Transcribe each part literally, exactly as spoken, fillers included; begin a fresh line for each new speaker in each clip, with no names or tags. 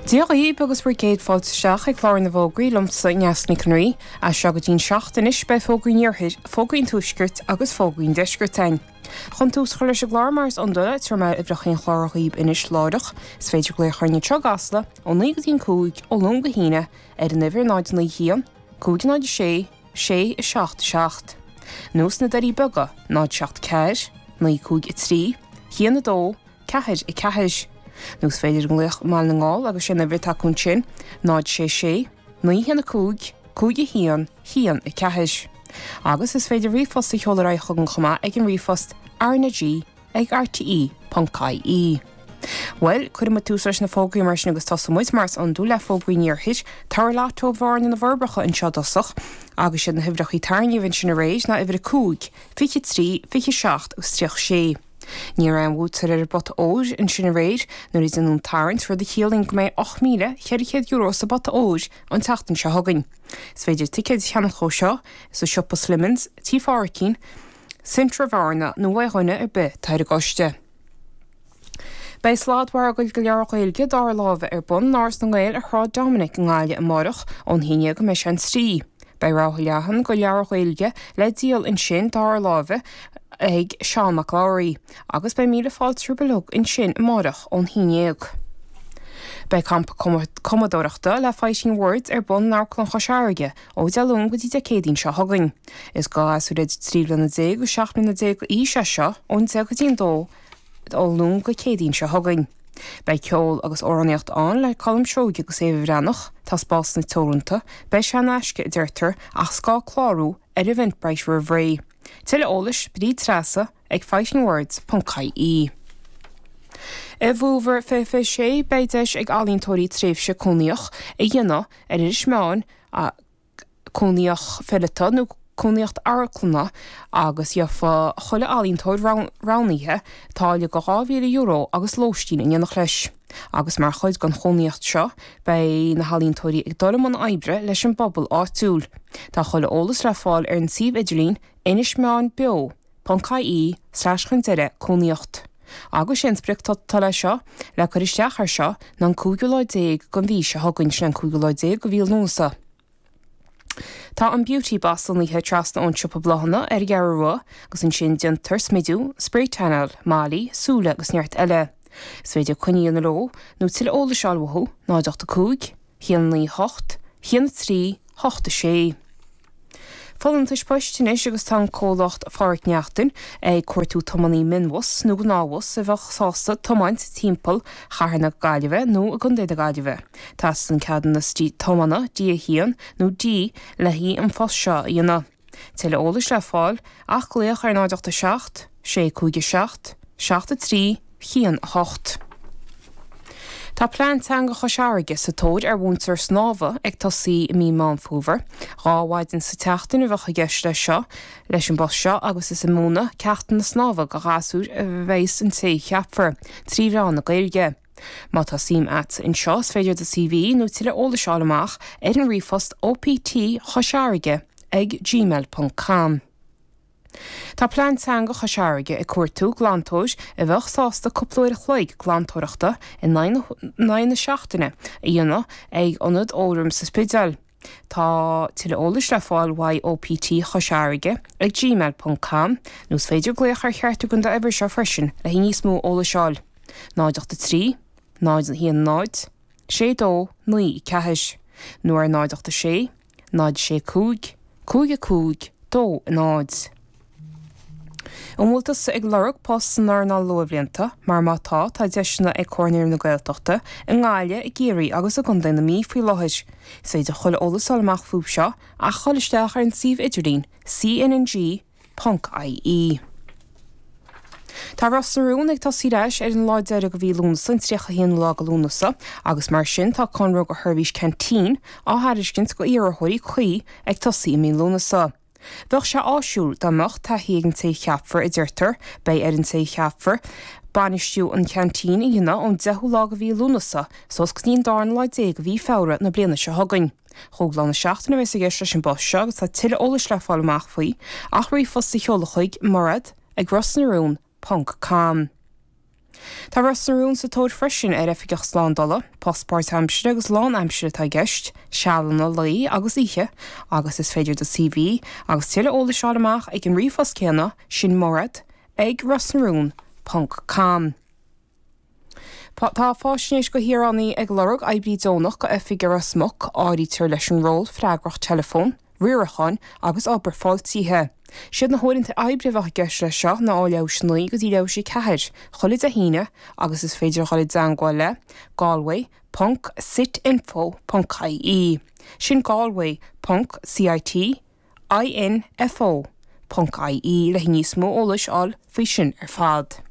Dia dhaoibh agus bhur gcéad fáilte isteach ag clár na bhfógraí liomsa Neasa Nic an Rí, as seo go dtí'n seacht anois beidh fógraí an iarthair, fógraí an tuaiscirt agus fógraí an deiscirt againn. Chun tús a chur leis an gclár mar is iondúil, tabharfaidh mé uimhreacha an chláir dhaoibh anois láithreach. Is féidir glaoch orainn anseo i gCasla ó naoi go dtí'n cúig, ó Luan go hAoine, ar an uimhir náid naoi haon, cúig náid a sé, sé a seacht a seacht. Nó sna Doirí Beaga, náid seacht ceathair, naoi cúig a trí, haon a dó, ceathair a ceathair. Nó is féidir glaoch i mBaile na nGall agus sé an uimhir atá acu ansin, náid sé sé, naoi haon a cúig, cúig a haon, haon a ceathair. Agus is féidir ríomhphost a sheoladh ar aghaidh chugainn chomh maith ag an ríomhphost RnaG ag R T E ponc I E. Bhuel, cuirfidh muid tús leis na fógraí mar sin agus tosóidh muid mar is iondúil le fógraí an iarthair, tabhair lotto Bhearna na bhForbacha anseo i dtosach, agus siad na huimhreacha tarraingthe ansin aréir ná uimhir a cúig, fiche trí, fiche seacht agus tríocha sé. Ní raibh aon bhuaiteoir ar an bpota óir ansin aréir nuair a déanadh an tarraingt, rud a chiallaíonn go mbeidh ocht míle ceithre chéad euro sa bpota óir an tseachtain seo chugainn. Is féidir ticéid a cheannach ó seo sa siopa Slimmins, Tí Pháraicín, Centra Bhearna nó uaidh dhuine ar bith atá ar an gcoiste. Beidh sladmhargadh de leabhair Ghaeilge dara láimhe ar bun in Áras na nGael ar Shráid Dominic i nGaillimh amárach ón haon déag go mbeidh sé an trí. Beidh rogha leathan de leabhair Ghaeilge le díol ansin dara láimhe ag Seán Mac Labhraí, agus beidh míle fáilte rompu uilig ansin amárach ón haon déag. Beidh campa cumadóireachta le Fighting Words ar bun in Amharclann Chois Fharraige ó Dé Luain go dtí Dé Céadaoin seo chugainn. Is do ghasúir idir trí bliana déag agus seacht mbliana déag d'aois é seo ón deich go dtí an dó ó Luan go Céadaoin seo chugainn. Beidh ceol agus amhránaíocht ann le Colm Seoighe agus Éabha Bhreathnach, tá spásanna teoranta, beidh sé in aisce a deirtear ach is gá clárú ar Eventbrite roimh ré. Tuilleadh eolais Bríd Treasa ag fightingwords ponc I E. I bhfómhar fiche fiche sé beidh deis ag ealaíontóirí tréimhse cónaíoch a dhéanamh ar Inis Meáin, cónaíocht fileata nó cónaíocht amharclainne, agus gheofa chuile ealaíontóir roghnaithe táille de dhá mhíle euro agus lóistín in éineacht leis. Agus mar chuid den chónaíocht seo beidh na healaíontóirí ag dul i mbun oibre leis an bpobal áitiúil. Tá chuile eolas le fáil ar an suíomh idirlín inismeáinbeo ponc I E slash chun deireadh cónaíocht. Agus sé an spriocdháta le seo le cur isteach ar seo ná an cúigiú lá déag den mhí seo chugainn, sin an cúigiú lá déag de mhí Lúnasa. Tá an Beauty Boss lonnaithe trasna ón siopa bláthanna ar an gCeathrú Rua agus ansin déantar smidiú, spray tanáil, malaí, súile agus neart eile. Is féidir coinne a dhéanamh leo nó tuilleadh eolais a fháil uathu náid ocht a cúig, haon naoi hocht, haon a trí, hocht a sé. Folúntais poist anois agus tá an comhlacht Phádraic Neachtain ag cuartú tiománaí mionbhus nó gnáthbhus a bheadh sásta tiomáint timpeall chathair na Gaillimhe nó i gContae na Gaillimhe. Teastaíonn ceadúnas tiomána D a haon nó D le haghaidh an phost seo a dhéanamh. Tuilleadh eolais le fáil ach glaoch ar náid ocht a seacht, sé cúig a seacht, seacht a trí, haon a hocht. Tá plean teanga Chois Fharraige sa tóir ar mhúinteoir snámha ag tosaí i mí Meán Fómhair. Dhá mhaidin sa tseachtain a bheadh i gceist leis seo leis an bpost seo agus is ag múineadh ceachtanna snámha do ghasúir a bheas an té a cheapfar trí mheán na Gaeilge. Má tá suim agat anseo is féidir do C V nó tuilleadh eolais a fháil amach ar an ríomhphost O P T Chois Fharraige ag gmail ponc com. Tá plean teanga Chois Fharraige ag cuartú glantóir a bheadh sásta cúpla uair a chloig glantóireachta in aghaidh na seachtaine a dhéanamh ag ionad Fhóram sa Spidéal. Tá tuilleadh eolais le fáil uaidh O P T Chois Fharraige ag gmail ponc com nó is féidir glaoch ar cheartú den uimhir seo freisin le níos mó eolais a fháil. náid ocht a trí, náid haon náid, sé dó naoi ceathair, nó ar náid ocht a sé, náid sé cúig, cúig a cúig, dó náid. An bhfuil tusa ag lorg post san earnáil luathbhlianta, mar má tá tá deiseanna ag Comhairle na Gaeltachta i nGaillimh, i gCiarraí agus i gContae na Mí faoi láthair. Is féidir chuile eolas a fháil amach fúthu seo ach dul isteach ar an suíomh idirlín C N N G ponc I E. Tá Ros na Rún ag tosaí ar ais ar an lá deiridh de mhí Lúnasa, an tríocha haon lá de Lúnasa, agus mar sin tá conradh do sheirbhís ceaintín á thairiscint do iarrthóirí cuí ag tosaí i mí Lúnasa. Bheadh sé áisiúil dá mbeadh taithí ag an té a cheapfar a deirtear, beidh ar an té a cheapfar bainistiú an cheaintín a dhéanamh ón deichiú lá de mhí Lúnasa suas go dtí an darna lá déag de mhí Feabhra na bliana seo chugainn. Chúig lá na seachtaine a bheas i gceist leis an bpost seo agus tá tuilleadh eolais le fáil amach faoi ach ríomhphost a sheoladh chuig murad ag rosnarún ponc com. Tá Ros na Rún sa tóir freisin ar oifigeach slándála, post páirtaimseartha agus lánaimseartha atá i gceist, sealanna lae agus oíche, agus is féidir do CV agus tuilleadh eolais a fháil amach ag an ríomhphost céanna sin mairead ag rosnarún ponc com. Tá faisnéis do shaoránaigh ag lorg oibrí deonach go oifig i Ros Muc, áirítear leis an ról freagracht teileafóin, riaracháin agus obair fáiltithe. Siad na huaireanta oibre a bheadh i gceist leis seo ná ó leathuair théis a naoi go dtí leathuair théis a ceathair, chuile Dé hAoine agus is féidir dhul i dteangmháil le Galway ponc sitinfo ponc ie. Sin Galway ponc cit info ponc ie le níos mó eolais a fháil faoi sin ar fad.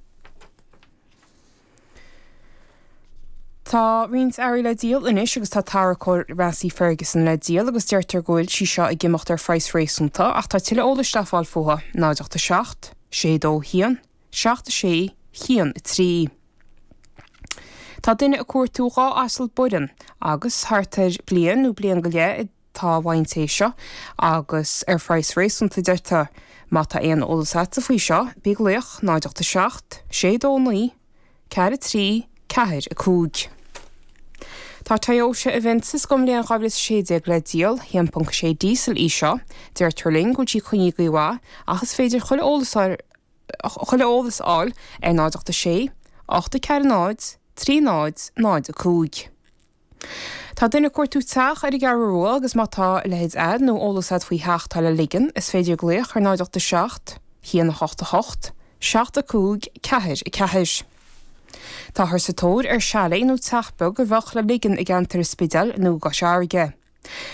Tá roinnt earraí le díol anois agus tá tarracóir Massey Ferguson le díol agus deirtear go bhfuil sí seo ag imeacht ar phraghas réasúnta ach tá tuilleadh eolais le fáil fúithi, náid ocht a seacht, sé dó haon, seacht a sé, haon a trí. Tá duine ag cuartú dhá asal Boran agus thart ar bliain nó bliain go leith atá uaidh an té seo agus ar phraghas réasúnta deirtear. Má tá aon eolas agatsa faoi seo, bí ag glaoch, náid ocht a seacht, sé dó naoi, ceathair a trí, ceathair a cúig. Tá Toyota Avensis don bhliain dhá mhíle is a sé déag le díol, haon ponc sé díosal í seo. Deirtear linn go bhfuil sí coinnithe go maith ach is féidir chuile eolas ar chuile eolas a fháil ar náid ocht a sé, ocht a ceathair náid, trí náid, náid a cúig. Tá duine ag cuartú teach ar an gCeathrú Rua agus má tá a leithéid a'd nó eolas a'd faoi theach atá le ligean, is féidir glaoch ar náid ocht a seacht, haon a hocht a hocht, seacht a cúig, ceathair a ceathair. Táthar sa tóir ar chalet nó teach beag a bheadh le ligean i gceantar an Spidéil nó i gCois Fharraige.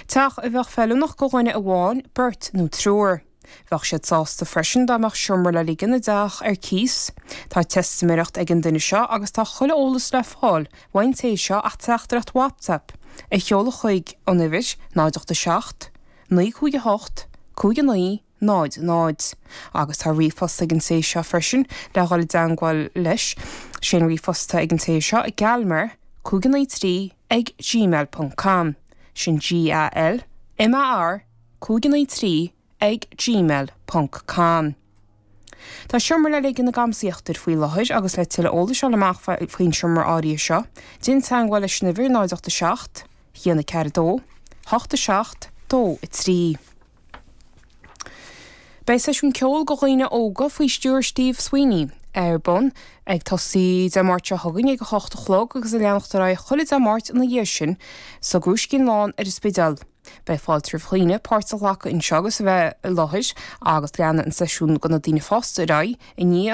Teach a bheadh feiliúnach do dhuine amháin, beirt nó triúr. Bheadh siad sásta freisin dá mbeadh seomra le ligean i dteach ar cíos. Tá teistiméireacht ag an duine seo agus tá chuile eolas le fáil uaidh an té seo ach teachtaireacht WhatsApp a sheoladh chuig an uimhir náid ocht a seacht, naoi cúig a hocht, cúig a naoi, náid, náid. Agus tá ríomhphost ag an té seo freisin le dhul i dteangmháil leis. Sé an ríomhphost atá ag an té seo galmar cúig a naoi trí ag gmail ponc com. Sin G A L M A R cúig a naoi trí ag gmail ponc com. Tá seomra le ligean i gCampas Íochtair faoi láthair agus le tuilleadh eolais a fháil amach faoin seomra áirithe seo, déan teangmháil leis an uimhir náid ocht a seacht, haon a ceathair a dó, hocht a seacht, dó a trí. Beidh seisiún ceoil do dhaoine óga faoi stiúir Steve Sweeney ar bun ag tosaí Dé Máirt seo chugainn ag a hocht a chlog agus ag leanacht ar aghaidh chuile Dé Máirt ina dhiaidh sin sa gCrúiscín Lán ar an Spidéal. Beidh fáilte roimh dhaoine páirt a ghlacadh anseo agus a bheith i láthair agus leanfaidh an seisiún do na daoine fásta ar aghaidh i ndiaidh